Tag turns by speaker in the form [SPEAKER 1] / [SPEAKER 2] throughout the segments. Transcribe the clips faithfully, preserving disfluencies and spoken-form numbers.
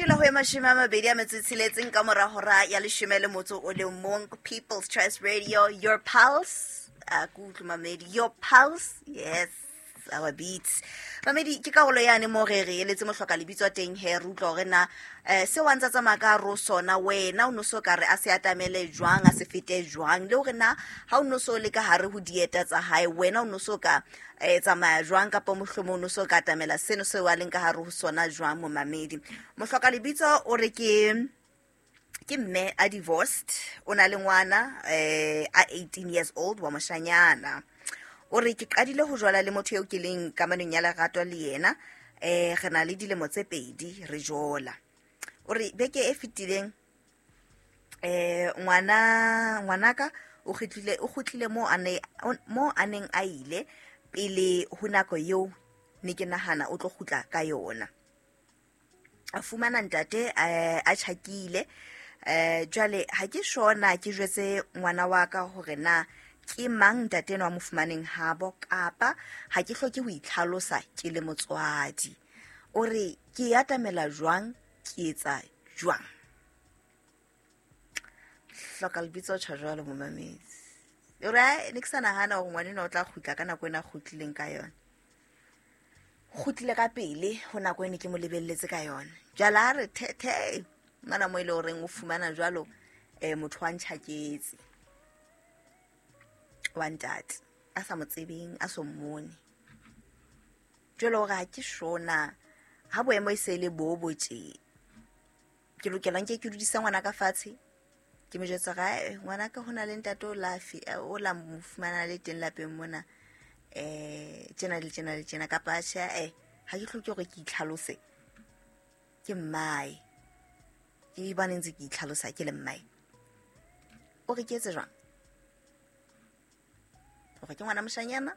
[SPEAKER 1] Dula ho e mashome a mabedi a metso e tsheletseng ka mora hora ya leshome le motso o le mong. People's Choice Radio, your pulse. A ke utlwe, mamedi, your pulse, yes, our beats. Mamedi, ke karolo yane mo re re eletse mohloka lebitso teng he, re utlwa hore na um seo a ntsa tsamaya ka hare ho sona, wena o no so ka re a se atamele jwang, a se fete jwang, le hore na ha o no so le ka hare ho dieta tsa hae, wena o no so ka um tsamaya jwang, kapa mohlomong o no so ka atamela seno seo a leng ka hare ho sona jwang. Momamedi, mohloka lebitso o re ke ke mme a divorced, o na le ngwana eh a eighteen years old wa moshanyana. O re ke qadile ho jwala le motho eo ke leng kamanong ya lerato le yena, eh re na le dilemo tse pedi re jola. O re beke e fetileng eh ngwana ngwanaka o kgutlile o kgutlile mo a ne mo a neng a ile pele ho nako eo ne ke nahana o tlo kgutla ka yona. A fumana ntate eh, a tjhakile. eh jwale ha ke shona ke jwetse ngwana wa ka hore na ke mang ntate enwa a mo fumaneng habo, kapa ha ke hloke ho itlhalosa ke le motswadi. O re ke atamela jwang, ke etsa jwang? Hloka lebitso tjha jwalo, momamedi. O re ai, ne ke sa nahana hore ngwana enwa o tla kgutla ka nako ena a kgutlileng ka yona. Kgutlile ka pele ho nako ene ke mo lebelletse ka yona. Jwale ha re the the mana mo e le horeng o fumana jwalo eh motho wa ntjhaketse wa ntate a sa mo tsebeng, a so mmone. Jwale hore ha ke shona ha boemo e se le bo bo tje, ke lokela nke ke dudise ngwana ka fatshe, ke mo jwetsa hore, "Ae, ngwanaka, ho na le ntate o la fi- eh, o la mo fumana le teng lapeng mona, eh tjena le tjena le tjena," kapa tjhe, eh ha ke hloke hore ke itlhalose ke mmae, ke bane ntse ke itlhalosa ke le mmae. O re ke etse jwang? Hore ke ngwana moshanyana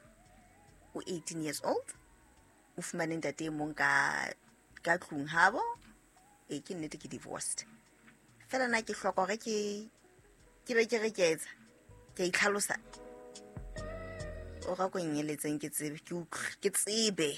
[SPEAKER 1] o eighteen years old, o fumane ntate e mong ka ka tlung habo. E ke nnete ke divorced, fela na ke hloka hore ke ke be ke re ke etsa ke a itlhalosa? O ra ko nyeletseng ke tsebe, ke utlwe, ke tsebe.